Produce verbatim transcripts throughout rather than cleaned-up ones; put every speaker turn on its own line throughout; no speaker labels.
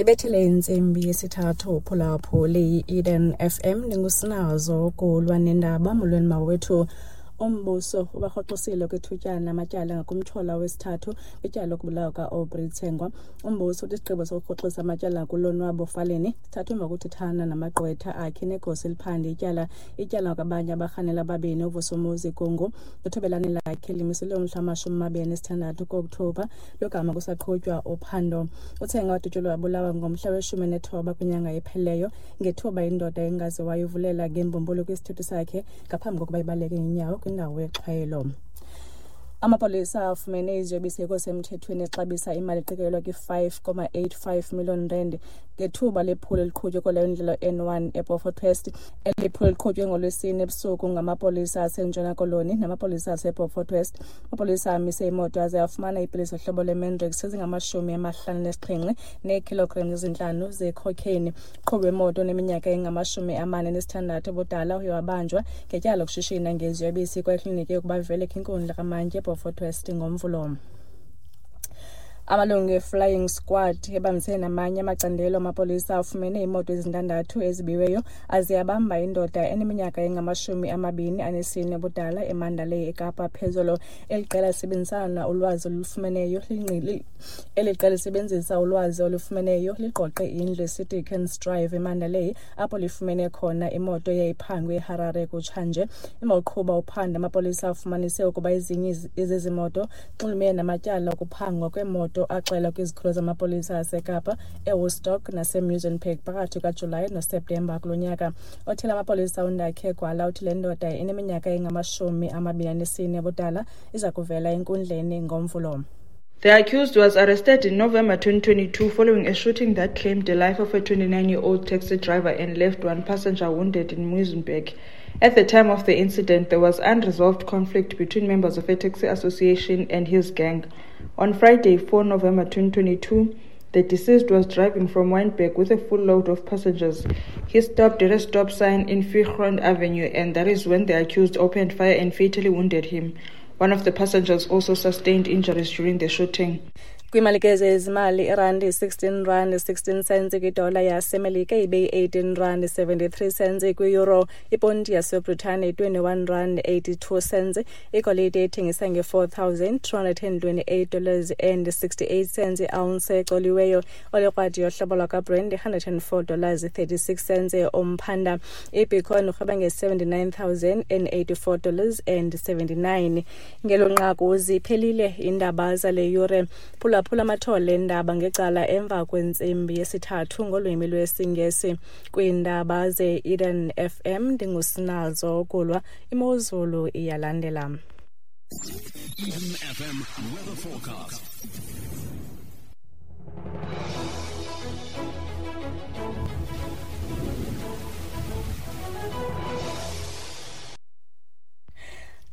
Ibethile intsimbi yesithathu phulaphuli yi-Eden F M ndingusinazo kulwa nendaba. Molweni mawethu. Umbuso ubarhoxisile kwithutyana amatyala ngakumtyholwa wesithathu kwityala lokubulawa ka-Aubrey Tsengwa. Umbuso uthi isigqibo sokurhoxisa amatyala kuLonwabo Faleni sithathwe emva kokuthethana namagqwetha akhe negosa eliphanda ityala. Ityala kwabanye abarhanela ababini uVusumuzi Kungu nothobelane lakhe limiselwe umhla wamashumi amabini anesithandathu ku-Okthobha logama kusaqhutywa uphando. UTsengwa wadutyulwa wabulawa ngomhla weshumi nethoba kwinyanga ephelileyo ngethuba indoda engaziwayo ivulela ngembumbulu kwisithuthi sakhe ngaphambi kokuba ibaleke ngenyawo kwindawo yexhwayelo. Amapolisa afumene iziyobisi ngokusemthethweni exabisa imali eqikelelwa kwi-five comma eight five million rand ngethuba lephulo eliqhutywe kwaleyo ndlela N one eBeaufort West. Eli phulo liqhutywe ngoLwesine ebusuku ngamapolisa aseNtshona Koloni namapolisa aseBeaufort West. Amapolisa amise imoto aze afumana iipilisi zohlobo lweMandrax ezingamashumi amahlanu anesixhenxe neekhilogram ezintlanu zecocaine. Uqhubi wemoto oneminyaka engamashumi amane anesithandathu ubudala uye wabanjwa ngetyala lokushishina ngeziyobisi kwekliniki yokuba avele kwinkundla kamantyi eBeaufort West ngoMvulo. Amalungu e-Flying Squad ebambisene namanye amacandelo amapolisa afumene iimoto ezintandathu ezibiweyo aze abamba indoda eneminyaka engamashumi amabini anesine ubudala eMandalay eKapa phezolo. Eli qela lisebenzisana ulwazi olufumeneyo lingqili Eli qela lisebenzisa ulwazi olufumeneyo ligqoqe indlu eseDickens Drive eMandalay apho lifumene khona imoto eyayiphangwe eHarare kutshanje. Emva kokuqhuba uphando amapolisa afumanise ukuba ezinye zezi moto zinxulumene namatyala okuphangwa kweemoto axelwa kwizikhululo zamapolisa aseKapa, eWoodstock naseMuizenberg phakathi kukaJulayi noSeptemba kulo nyaka. Othile amapolisa uNdakhe Gwala uthi le ndoda ineminyaka engamashumi amabini anesine ubudala iza kuvela enkundleni ngoMvulo.
The accused was arrested in November twenty twenty-two following a shooting that claimed the life of a twenty-nine-year-old taxi driver and left one passenger wounded in Muizenberg. At the time of the incident, there was unresolved conflict between members of a taxi association and his gang. On Friday, four November twenty twenty-two, the deceased was driving from Wynberg with a full load of passengers. He stopped at a stop sign in Viergrond Avenue, and that is when the accused opened fire and fatally wounded him. One of the passengers also sustained injuries during the shooting.
Kwimalike zezimali, irandi sixteen rand sixteen cents kwidola yaseMelika ibe yi-eighteen rand seventy-three cents kwi-euro. Iponti yaseBritane twenty-one rand eighty-two cents. Igolide ethengisa nge-four thousand two hundred and twenty-eight dollars and sixty-eight cents i-ounce ecoliweyo. Olekrwadi yohlobo lwakwaBrent hundred and four dollars thirty-six cents umphanda. IBitcoin urhweba nge-seventy-nine thousand and eighty-four dollars and seventy-nine. Ngelo nqaku ziphelile iindaba zale yure. Phula phula amathole endaba ngecala emva kwentsimbi yesithathu ngolwimi lwesiNgesi. Kwiindaba ze-Eden F M ndingusinazo Kulwa. Imozulu iyalandela.
Eden F M weather forecast.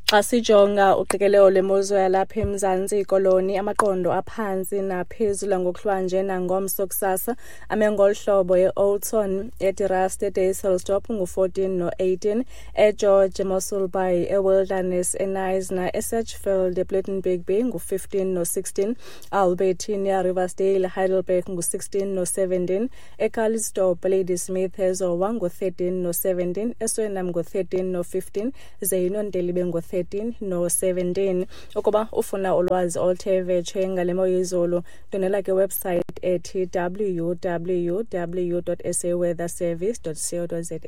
Xa sijonga uqikelelo lwemozulu yalapha eMzantsi Koloni, amaqondo aphantsi naphezulu ngokuhlwanje nangomso kusasa ame ngolu hlobo: eOldton, eDerust, eDysselsdorp ngu-fourteen no-eighteen, eGeorge, eMossel Bay, eWilderness, eKnysna, eSedgefield, ePlettenberg Bay ngu-fifteen no-sixteen, Albertina, Riversdale, Heidelberg ngu-sixteen no-seventeen, eCalitzdorp, Ladysmith, eZowa ngu-thirteen no-seventeen, eSwellnum ngu-thirteen no-fifteen, ze iNontelibe ngu-thirteen no-seventeen. Ukuba ufuna ulwazi oluthe vetshe ngale mo yezulu, ndwendwela kwiwebsite ethi w w w dot s a weather service dot co dot za.